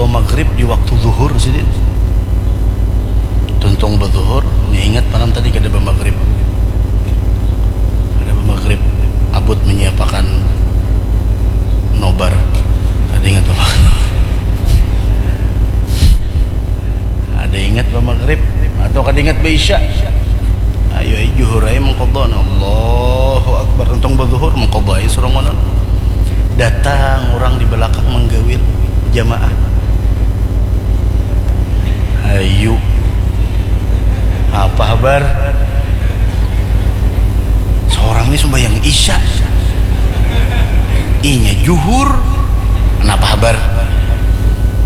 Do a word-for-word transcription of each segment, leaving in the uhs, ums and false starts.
Maghrib di waktu zuhur sidin. Tuntung bazuhur, nya ingat malam tadi kada bamagrib. Kada bamagrib, abut menyiapakan nobar. Kada ingat bamagrib. Kada ingat bamagrib atau kada ingat baisya. Ayo ai juhur ai mengkodok. Allahu Akbar, tuntung bazuhur mengkodok ai surangonan. Datang orang di belakang menggawil jamaah. Ayu, apa habar? Seorang ni sembahyang isya, inya juhur, kenapa habar?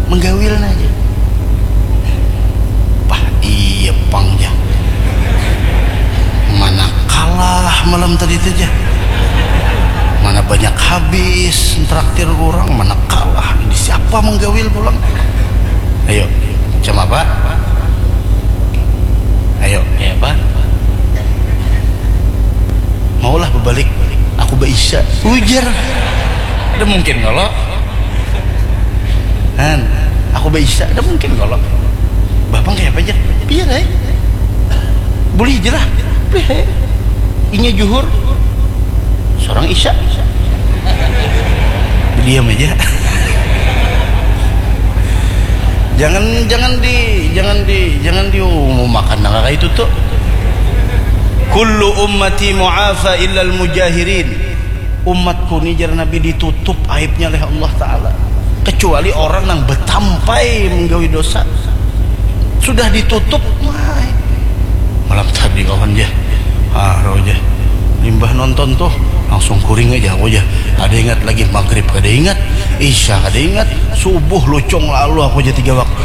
Menggawil aja. Pah, iya pang ja. Mana kalah malam tadi tu ja. Mana banyak habis traktir orang, mana kalah. Ini siapa menggawil pulang? Ayo, macam apa? Ayo, kayak apa? Maulah berbalik, aku baisya. Ujar. Ada mungkin kalau Han, aku baisya, ada mungkin kalau Bapang kayak apa aja? Biar aja. Boleh aja lah. Boleh aja. Inya juhur, seorang isya. Diam aja. Jangan, jangan di, jangan di, jangan diumumakan nang kayak itu tuh. Kullu ummati mu'afa illal mujahirin. Umatku ni, jar Nabi, ditutup aibnya oleh Allah Ta'ala, kecuali orang nang betampai menggawi dosa. Sudah ditutup, wah, malam tadi kawan ja, haro ja. Limbah nonton tuh, langsung kuring aja aku ja. Kada ingat lagi maghrib, kada ingat isya, kada ingat subuh, lucung lalu aku ja tiga waktu.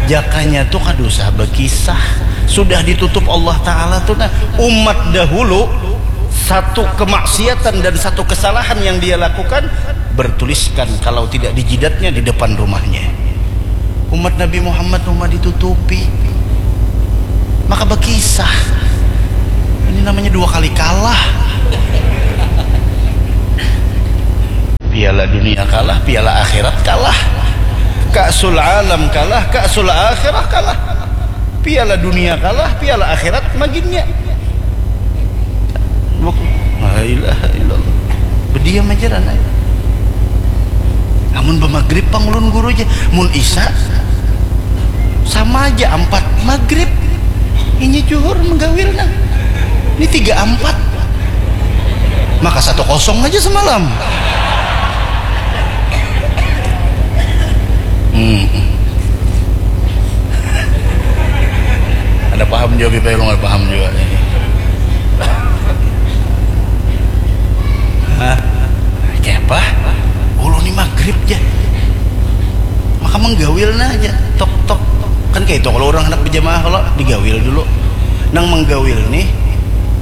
Jakanya tuh kada usah berkisah, sudah ditutup Allah Ta'ala tuh. Nah, umat dahulu satu kemaksiatan dan satu kesalahan yang dia lakukan bertuliskan kalau tidak di jidatnya, di depan rumahnya. Umat Nabi Muhammad umat ditutupi, maka berkisah. Ini namanya dua kali kalah. Piala dunia kalah, piala akhirat kalah. Ka'sul alam kalah, ka'sul akhirah kalah. Piala dunia kalah, piala akhirat maginnya. Buk-, la ilaha illallah. Berdiam aja lah, nah. Amun bamagrib pang ulun guru aja. Mun isa, sama aja, ampat magrib. Inya juhur menggawil, nah. Ini tiga ampat. Maka satu kosong aja semalam. Hmm. Ada paham juga kita, lu nggak paham juga. Hah? Kayak apa? Ulun ni magrib ja. Maka menggawil nah aja. Tok, tok, tok. Kan kayak itu kalau orang hendak berjamaah, kalau digawil dulu. Nang menggawil nih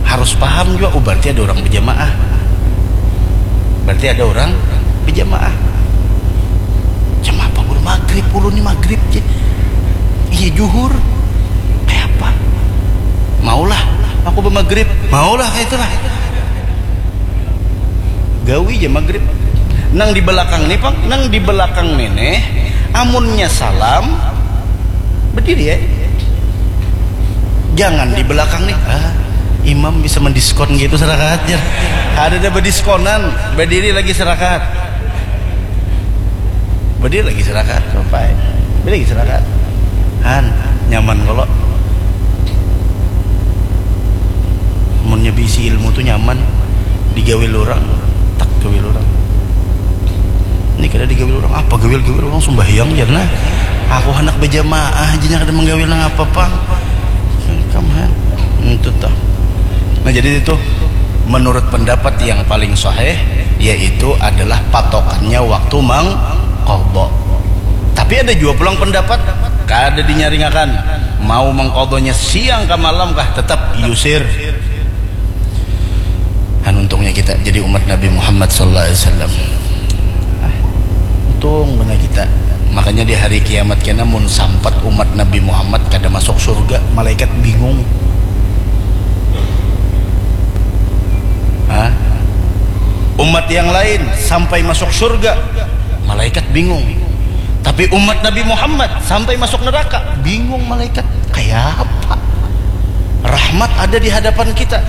harus paham juga, oh, berarti ada orang berjamaah. Berarti ada orang berjamaah. Jam apa baru magrib? Ulun ni magrib ja. Iya, juhur. Kayak apa? Maulah aku bermagrib. Maulah kayak itulah. Gawi ja magrib. Nang di belakang nih, pang, nang di belakang nih, nih, amunnya salam, berdiri ya. Jangan di belakang nih. Ah, imam bisa mendiskon gitu serakaat, jar. Ada, ada berdiskonan, berdiri lagi serakaat. Berdiri lagi serakaat, sampai. Berdiri lagi serakaat. Han, nyaman kalau. Munnya bisi ilmu tuh nyaman. Digawil orang, tak gawil orang. Ini kada digawil orang, apa gawil-gawil orang sembahyang, jar nah. Aku hendak berjamaah aja, kada menggawil nang apa pang. Kamu, Han. Itu tuh. Nah, jadi itu menurut pendapat yang paling sahih, yaitu adalah patokannya waktu mengqadha. Tapi ada juga pulang pendapat kada dinyaringakan, mau mengqadhanya siang ka malam kah, tetap yusir. Kan untungnya kita jadi umat Nabi Muhammad sallallahu alaihi wasallam. Ah, untung benar kita. Makanya di hari kiamat kena mun sampat umat Nabi Muhammad kada masuk surga, malaikat bingung. Hah? Umat yang lain sampai masuk surga, malaikat bingung. Tapi umat Nabi Muhammad sampai masuk neraka, bingung malaikat, kayak apa? Rahmat ada di hadapan kita.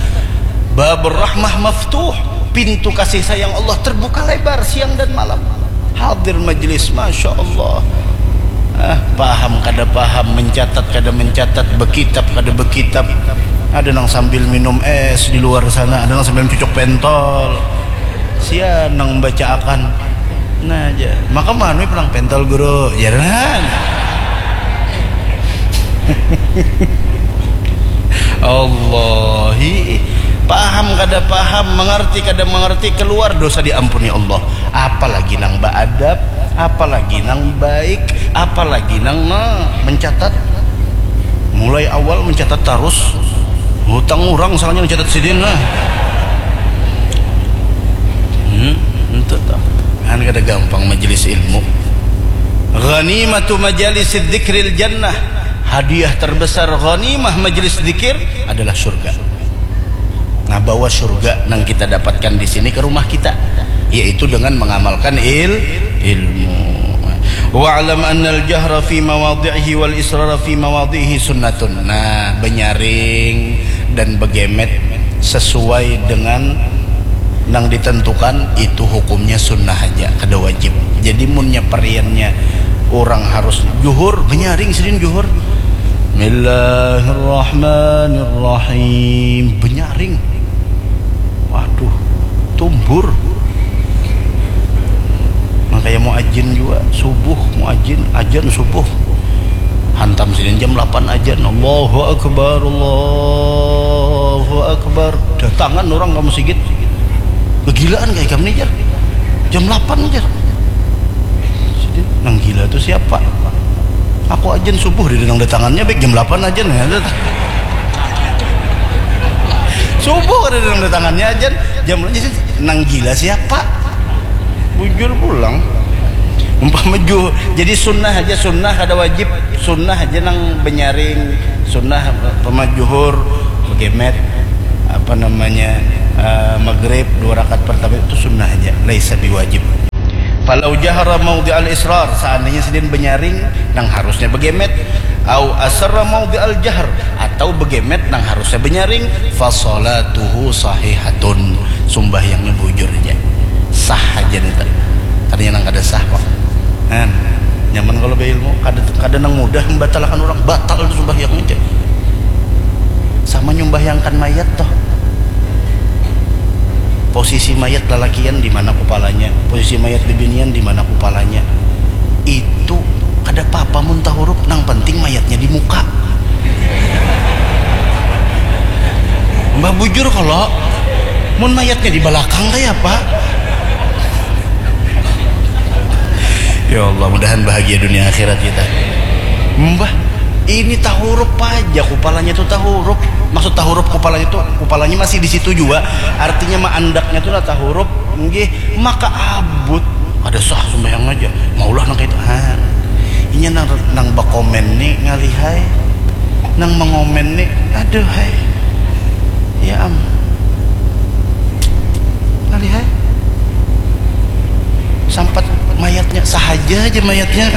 Babur rahmah maftuh, pintu kasih sayang Allah terbuka lebar siang dan malam. Hadir majelis, masya Allah. Ah, paham kada paham, mencatat kada mencatat, bekitab kada bekitab. Ada nang sambil minum es di luar sana, ada nang sambil cucuk pentol. Sia nang baca akan. Nah aja. Maka manui pulang pentol guru, jaran. Allahi, paham kada paham, mengerti kada mengerti, keluar dosa diampuni Allah. Apalagi nang baadab, apalagi nang baik, apalagi nang nah, mencatat. Mulai awal mencatat tarus. Hutang urang soalnya mencatat sidin lah. Hmm, itu tuh. Kan kada gampang majelis ilmu. Ghanimatu majalis dzikril jannah. Hadiah terbesar ghanimah majelis zikir adalah surga. Nah, bahwa surga yang kita dapatkan di sini ke rumah kita, yaitu dengan mengamalkan il ilmu. Wa'lam annal jahra fi mawadhi'ihi wal israra fi mawadhi'ihi sunnatun. Nah, benyaring dan begemet sesuai dengan nang ditentukan itu hukumnya sunnah aja, kada wajib. Jadi munnya pariannya orang harus juhur, benyaring sidin juhur. Bismillahirrahmanirrahim. Benyaring. Waduh, tumbur. Nah, kayak mau ajin juga, subuh mau ajin, ajan subuh. Hantam sidin jam lapan ajan. Allahu Akbar, Allahu Akbar. Datangan orang kamu sigit. Kegilaan kayak kamu nih, jar. Jam lapan aja. Sidin, nang gila tuh siapa? Aku ajan subuh di nang datangannya baik jam lapan aja nih. Subuh kada ada nang datangannya ajan, jam aja nang gila siapa? Bujur pulang. Umpama ju, jadi sunnah aja, sunnah kada wajib, sunnah aja nang benyaring, sunnah pemajuhur, begemet, apa namanya, eh, maghrib dua rakaat pertama itu sunnah aja, laisa biwajib. Falau jahara maudhi'al israr, seandainya sidin benyaring nang harusnya begemet, au asarra maudhi'al jahr, atau begemet nang harusnya benyaring, fasalatuhu sahihatun, sumbahyangnya bujur aja, sah aja nih tadi. Tadinya nang kada sah kok. Kan nyaman kalau beilmu, kada kada nang mudah membatalakan orang, batal itu sumbahyang aja. Sama nyumbahyangkan mayat toh. Posisi mayat lalakian di mana kupalanya, posisi mayat bibinian di mana kupalanya. Itu kada apa-apa mun tahurup, nang penting mayatnya di muka. Mbah bujur kalau mun mayatnya di belakang kayak apa? Ya Allah, mudahan bahagia dunia akhirat kita. Mbah, ini tahurup aja, kupalanya tuh tahurup. Maksud tahurup kupalanya tuh, kupalanya masih di situ juga. Artinya mah andaknya tuh lah tahurup, nggih, maka abut. Ada sah sembahyang aja. Maulah nang kayak itu. Ha. Inya nang nang bakomen nih ngalihai. Nang mengomen nih, aduh hai. Ya am. Ngalihai. Sampat mayatnya, sahaja aja mayatnya.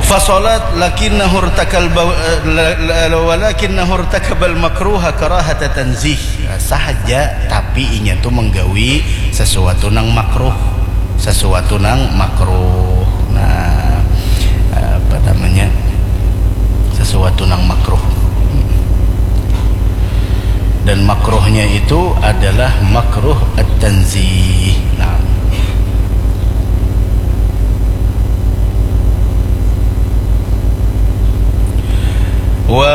Fasolat lakinnahu irtakal ba-, eh, la- la- la- walakinnahu irtakabal makruha karahata tanzih. Sahaja, tapi inya tuh menggawi sesuatu nang makruh, sesuatu nang makruh. Nah, apa namanya, sesuatu nang makruh. Dan makruhnya itu adalah makruh at-tanzih. Nah. Wa